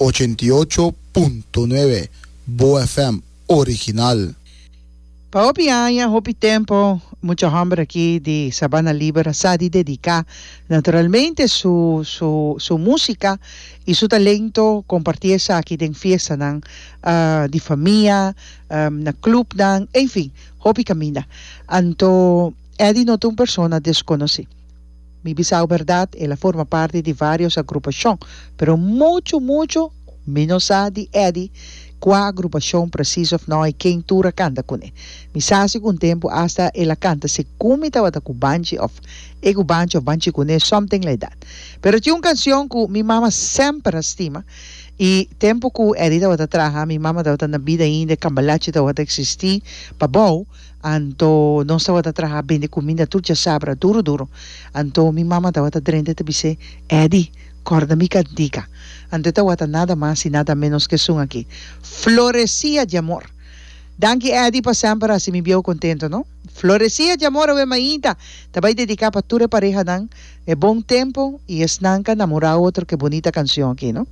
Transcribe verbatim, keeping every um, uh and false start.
Ochenta i ocho punto nuebe Bo F M original. Pa hopi aña, hopi tempo, mucha homber aki di Sabana Liber sa di dedica naturalmente su, su, su musica y su talento, comparti esaki den fiestanan uh, di famia, um, na clubnan, en fin, hopi caminda. Anto, Eddie no ta un persona desconoci. Mi bisa berdad, el a forma parti di varios agrupacion, pero mucho, mucho menos sa di Eddie cua agrupacion preciso of no y ken tur a canta cune. Mi sa cu un tempo hasta el a canta se cumi tabata cu Banchi of e cu Banchi of Banchi cune, something like that. Pero tin un cancion cu mi mama semper a stima y tempo cu Eddie tabata traha, mi mama tabata na bida ainda, Cambalache tabata existi pabou, anto nos tabata traha bende cuminda tur diasabra, duro duro. Anto mi mama tabata drenta ta bis'e, "Eddie, corda mi cantica." Anto tabata nada mas y nada menos cu esun aki, "Florecilla de Amor". Danki, Eddie, pa semper haci mi bieu contento, no? "Florecilla de Amor" awe mainta. Ta bay dedica pa tur parehanan. E bon tempo y esnan cu a namora otro. Ki bunita cancion aki, no?